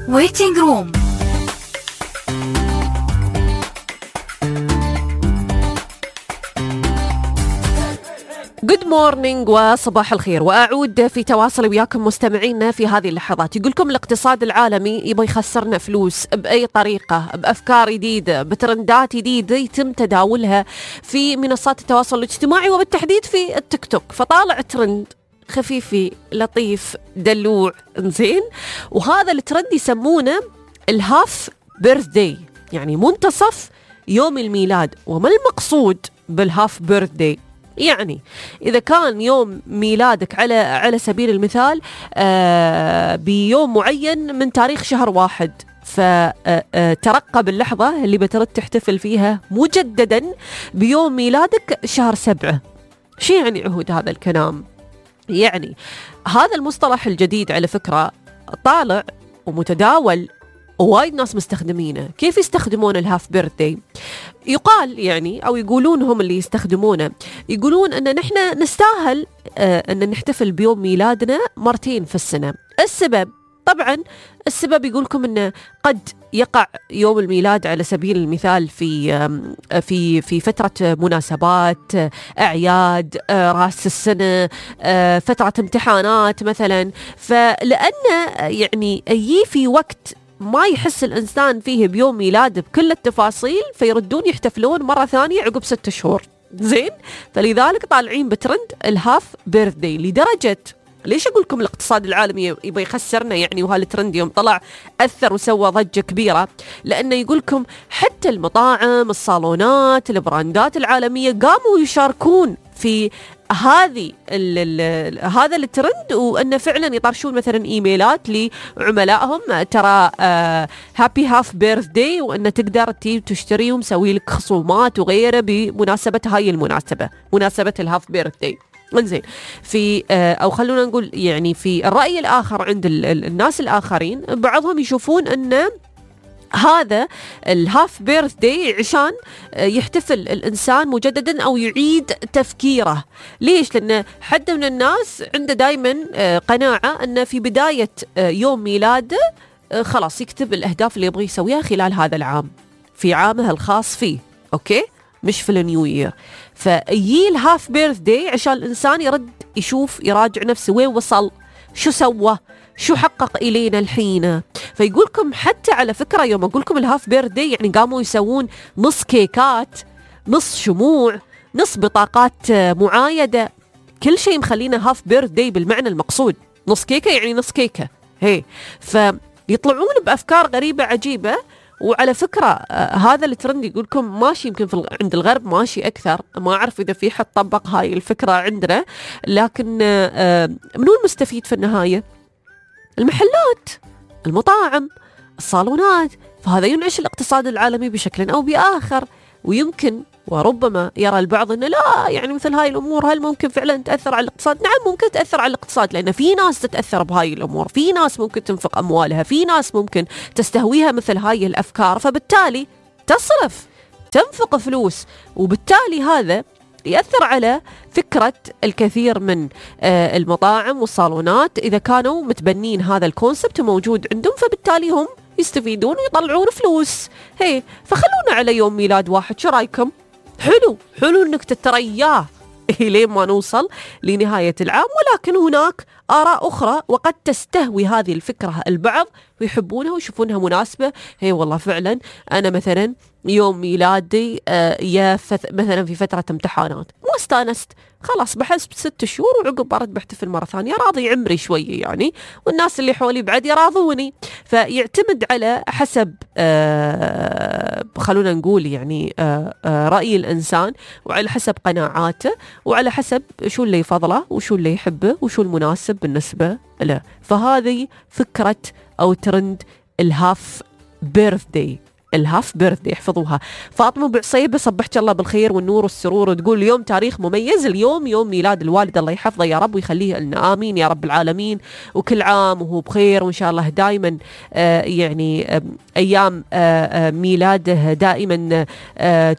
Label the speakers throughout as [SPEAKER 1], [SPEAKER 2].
[SPEAKER 1] ويتنج روم.
[SPEAKER 2] Good morning وصباح الخير، وأعود في تواصل وياكم مستمعينا في هذه اللحظات. يقولكم الاقتصاد العالمي يبغى يخسرنا فلوس بأي طريقة، بأفكار جديدة، بترندات جديدة يتم تداولها في منصات التواصل الاجتماعي وبالتحديد في التيك توك. فطالع ترند خفيفي لطيف دلوع زين، وهذا الترند يسمونه الهاف بيرثداي، يعني منتصف يوم الميلاد. وما المقصود بالهاف بيرثداي؟ يعني إذا كان يوم ميلادك على سبيل المثال بيوم معين من تاريخ شهر 1، فترقب اللحظة اللي بترد تحتفل فيها مجددا بيوم ميلادك شهر 7. شو يعني عهود هذا الكلام؟ يعني هذا المصطلح الجديد على فكرة طالع ومتداول ووايد ناس مستخدمينه. كيف يستخدمون الهاف بيرثداي؟ يقال يعني أو يقولون هم اللي يستخدمونه، يقولون أن نحن نستاهل أن نحتفل بيوم ميلادنا مرتين في السنة. طبعا السبب يقولكم أنه قد يقع يوم الميلاد على سبيل المثال في فترة مناسبات، أعياد، رأس السنة، فترة امتحانات مثلا. فلأن يعني يجي في وقت ما يحس الإنسان فيه بيوم ميلاد بكل التفاصيل، فيردون يحتفلون مرة ثانية عقب 6 شهور زين. فلذلك طالعين بترند الهاف بيرثداي. لدرجة ليش أقول لكم الاقتصاد العالمي يبغى يخسرنا يعني؟ وهالترند يوم طلع أثر وسوى ضجة كبيرة، لأنه يقول لكم حتى المطاعم، الصالونات، البراندات العالمية قاموا يشاركون في هذا الترند، وأنه فعلا يطرشون مثلا إيميلات لعملائهم ترى هابي هاف بيرثداي، وأنه تقدر تشتري ومسوي لك خصومات وغيره بمناسبة هاي المناسبة، مناسبة الهاف بيرثداي. انزين في او خلونا نقول يعني في الرأي الآخر عند الناس الآخرين، بعضهم يشوفون أن هذا الهاف بيرثداي عشان يحتفل الإنسان مجددا أو يعيد تفكيره. ليش؟ لأن حد من الناس عنده دايما قناعة أن في بداية يوم ميلاده خلاص يكتب الأهداف اللي يبغى يسويها خلال هذا العام في عامه الخاص فيه، أوكي؟ مش في النيو يير. فيجي الهاف بيرثداي عشان الإنسان يرد يشوف، يراجع نفسه وين وصل، شو سوى، شو حقق إلينا الحين. فيقولكم حتى على فكرة يوم أقولكم الهاف بيرثداي يعني قاموا يسوون نص كيكات، نص شموع، نص بطاقات معايدة، كل شيء مخلينا هاف بيرثداي بالمعنى المقصود. نص كيكة يعني نص كيكة هي. فيطلعون بأفكار غريبة عجيبة. وعلى فكرة هذا الترند يقولكم ماشي يمكن عند الغرب ماشي أكثر، ما أعرف إذا في حد طبق هاي الفكرة عندنا، لكن منو المستفيد في النهاية؟ المحلات، المطاعم، الصالونات. فهذا ينعش الاقتصاد العالمي بشكل أو بآخر. ويمكن وربما يرى البعض أنه لا، يعني مثل هاي الأمور هل ممكن فعلا تأثر على الاقتصاد؟ نعم ممكن تأثر على الاقتصاد، لأن في ناس تتأثر بهاي الأمور، في ناس ممكن تنفق أموالها، في ناس ممكن تستهويها مثل هاي الأفكار، فبالتالي تصرف، تنفق فلوس، وبالتالي هذا يأثر على فكرة الكثير من المطاعم والصالونات إذا كانوا متبنين هذا الكونسبت موجود عندهم، فبالتالي هم يستفيدون ويطلعون فلوس. هي فخلونا على يوم ميلاد واحد، شو رايكم؟ حلو انك تترياه لين ما نوصل لنهاية العام. ولكن هناك آراء أخرى وقد تستهوي هذه الفكرة البعض ويحبونها ويشوفونها مناسبة. هي والله فعلا أنا مثلا يوم ميلادي مثلا في فترة امتحانات ما استانست، خلاص بحسب 6 شهور وعقب برد بحتفل مرة ثانية، راضي عمري شوية يعني، والناس اللي حولي بعد يراضوني. فيعتمد على حسب خلونا نقول يعني رأي الإنسان، وعلى حسب قناعاته، وعلى حسب شو اللي يفضله وشو اللي يحبه وشو المناسب بالنسبة له. فهذه فكرة أو ترند الهاف بيرثداي. الهاف بيرثدي. احفظوها. فاطمة بعصيبة صبحت الله بالخير والنور والسرور، وتقول اليوم تاريخ مميز، اليوم يوم ميلاد الوالد، الله يحفظه يا رب ويخليه لنا، آمين يا رب العالمين، وكل عام وهو بخير، وإن شاء الله دائما يعني أيام ميلاده دائما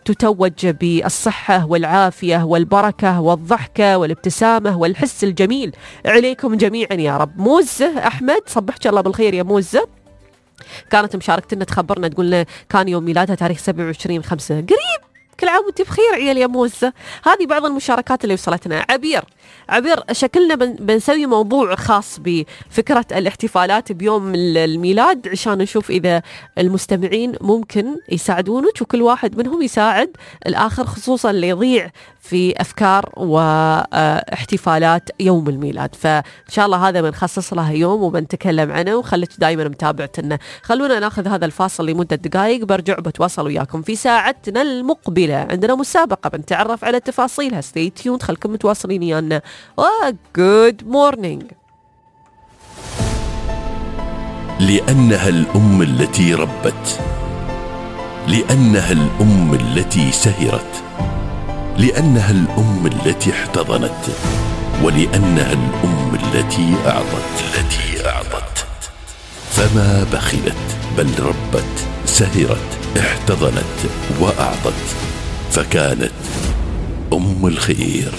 [SPEAKER 2] تتوج بالصحة والعافية والبركة والضحكة والابتسامة والحس الجميل عليكم جميعا يا رب. موزة أحمد صبحت الله بالخير يا موزة، كانت مشاركتنا تخبرنا تقول لنا كان يوم ميلادها تاريخ 27/5. قريب، كل عام وانت بخير عيال يا موزة. هذه بعض المشاركات اللي وصلتنا. عبير شكلنا بنسوي موضوع خاص بفكرة الاحتفالات بيوم الميلاد، عشان نشوف إذا المستمعين ممكن يساعدونك، وكل واحد منهم يساعد الآخر، خصوصا اللي يضيع في أفكار واحتفالات يوم الميلاد. فإن شاء الله هذا بنخصص له يوم وبنتكلم عنه، وخليك دائما متابعتنا. خلونا ناخذ هذا الفاصل لمدة دقائق، برجع بتواصل وياكم في ساعتنا المقبلة. عندنا مسابقة بنتعرف على تفاصيلها. stay tuned، خلكم متواصلين ويانا. good morning.
[SPEAKER 3] لأنها الأم التي ربت، لأنها الأم التي سهرت، لأنها الأم التي احتضنت، ولأنها الأم التي أعطت. فما بخلت، بل ربت، سهرت، احتضنت وأعطت، فكانت أم الخير.